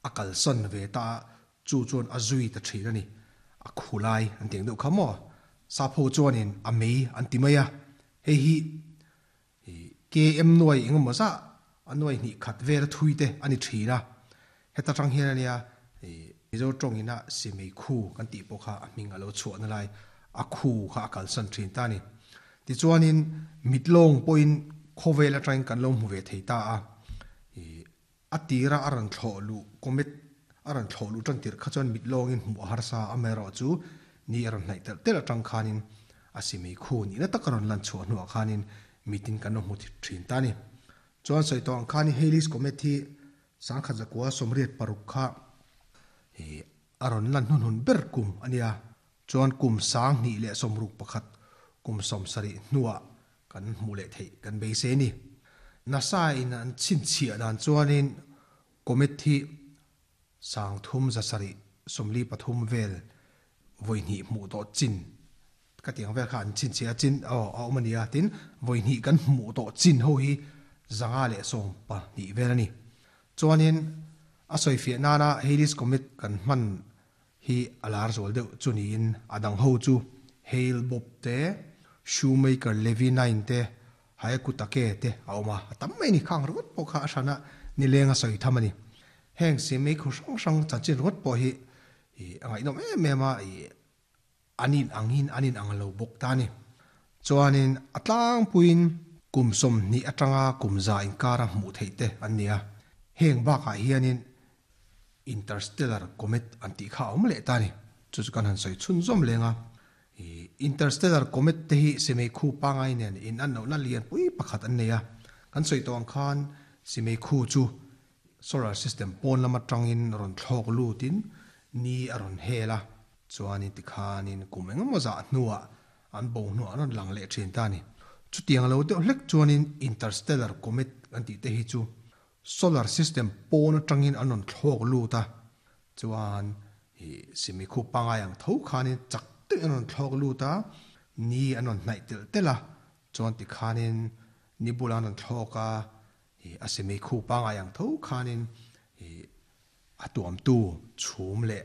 A kalsan ve ta a, chu chuan a zui ta thin a ni. A khu lai an ti ang deuh kha maw? Sapho chuanin a mei an ti mai a, hei hi KM nuai eng emaw zah a nuai hnih khat vel a thui te a ni thin a. Heta tang hian ania Mizo tawngin a simei khu kan tih pawh kha a hming a lo chhuahna lai a khu kha a kalsan thin ta a ni. Tichuanin mitlawng pawhin khawvel atangin kan lo hmu ve thei ta a. A tira a rawn thlawh luh comet a rawn thlawh luh tan tirh kha chuan mit lawngin hmuh a harsa a, amaherawhchu ni a rawn hnaih telh telh atang khanin a simei khu nihna tak a rawn lan chhuah hnuah khanin mitin kan lo hmu thin ta a ni. Chuan sawi tawh ang khanin Halley's Comet hi sangkhat zakua 86 kha a rawn lan hnunhun ber kum a nia. Chuan kum 2061 kum 70 hnuah kan hmuh leh theih kan beisei a ni. NASA in an chhinchhiah dan chuanin comet hi 3743 vel vawi hnih hmuh tawh chin ka tih ang vel kha an chhinchhiah a chin aw a awm a ni a, tin vawi hnih kan hmuh tawh chin ho hi 512 vel a ni. Chuanin a sawifiah nana Halley's Comet kan hman hi a lar zual deuh chu niin a dang ho chu Hale Bopp te, Shoemaker Levy 9 te, Hyakutake te a awm a, a tam mai a ni. Khang ringawt pawh kha a hrana nileng a sawi tham a ni. Heng siamei khu hrang hrang chanchin ringawt pawh hi a ngaihnawm em em a, an in angin an in ang lo bawk ta a ni. Chuanin a tlangpuiin kum 20 atanga kum 100 inkara hmuh theih te an ni a, heng bakah hianin Interstellar Comet an tih kha a awm leh ta a ni. Chu chu kan han sawi chhunzawm leng a. Interstellar Comet te hi Simei khu pangai nen in an lohna lian pui pakhat an nei a. Kan sawi tawh ang khan Simei khu chu solar system pawn lam atangin rawn thlawk lutin ni a rawn hel a. Chuanin tikhanin kum engemaw zah hnuah an bo hnuah an rawn lang leh thin ta a ni. Chutiang lo deuh hlek chuanin Interstellar Comet kan tih te hi chu Solar system pawn atangin an rawn thlawk lut a, chuan ih simi khup pangai ang tho khanin chak deuhin an rawn thlawk lut a, ni an rawn hnaih telh telh a, chuan tikhanin ni bulah an rawn thlawk a, ih a simi khup pangai ang tho khanin ih a tuamtu chhum leh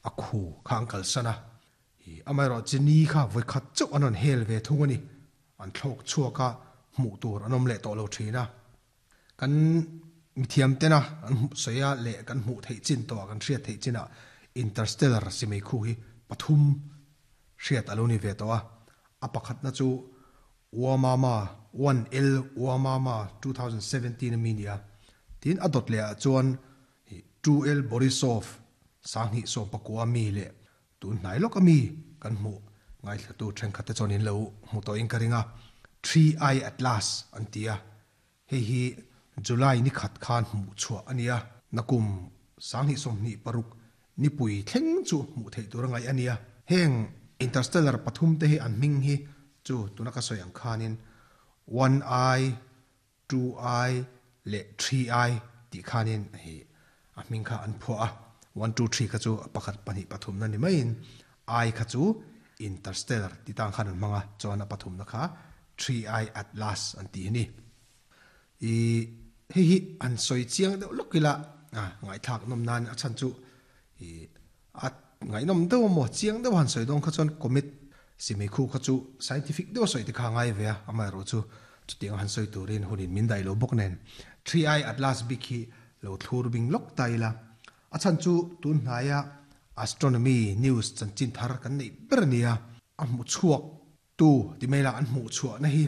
a khu kha an kalsan a, ih amaherawh chu ni kha vawikhat chauh an rawn hel ve thung a ni, an thlawk chhuak a, hmuh tur an awm leh tawh lo thin a. Kan mithiam tena an hmuh sawi a leh kan hmuh theih chin tawh ah kan hriat theih chin ah Interstellar simei khu hi pathum hriat a lo ni ve tawh a. A pakhatna chu Oumuamua, 1L Oumuamua 2017 a mi nia. Tin a dawt leh ah chuan 2L Borisov 2019 a mi leh Tun hnai lawk a mi kan hmuh ngaithlatu thenkhat te chuan in lo hmu tawhin ka ring a, Three Eye Atlas an ti a, hei hi July ni khat khan hmuh chhuah a ni a, nakum 2026 nipui thleng chu hmuh theih tur a ngaih a ni a. Heng interstellar pathum te hi an hming hi chu tuna ka sawi ang khanin One Eye, Two Eye leh Three Eye tih khanin hei a hming kha an phuah a, one two three kha chu pakhat pahnih pathumna ni maiin Eye kha chu interstellar ti tang khan an hmang a, chuan a pathumna kha Three Eye Atlas an ti a ni. I hei hi an sawi chiang deuh lawk ila a ngaihthlak nawm nan a chhan chu i a ngaihnawm deuh a maw chiang deuh han sawi dawn kha chuan comet simei khu kha chu scientific deuh a sawi te kha a ngai ve a, amaherawh chu chutiang a han sawi turin hunin min daih lo bawk nen Three Eye Atlas bik hi lo thlur bing lawk ta ila a chhan chu tun hnaia astronomy news chanchin thar kan neih ber a nia. A hmu chhuak tu ti mai la an hmuh chhuahna hi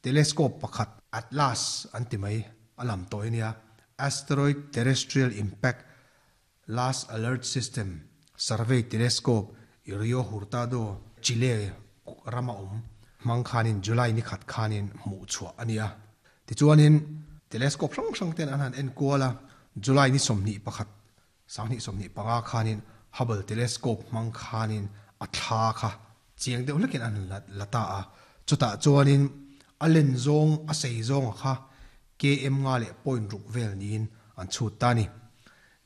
telescope pakhat Atlas an ti mai a lam tawh a nia, Asteroid Terrestrial Impact Last Alert System Survey Telescope i Rio Hurtado, Chile rama awm hmang khanin July ni khat khanin hmuh chhuah a ni a. Tichuanin telescope hrang hrang ten an han en kual a, July ni 21, 2025 khanin Hubble Telescope hmang khanin a thla kha chiang deuh hlekin an han la ta a. Chutah chuanin a len zawng, a sei zawnga kha KM nga leh point ruk vel niin an chhut ta a ni.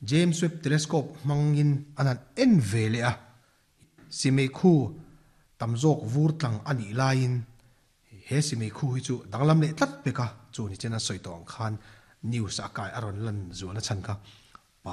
James Webb Telescope hmangin an han en ve leh a, Simei khu tam zawk vur tlang a nih laiin he Simei khu hi chu danglam leh tlat pek a, chu ni chen an sawi tawh ang khan news a kai a rawn lan zual a chhan kha.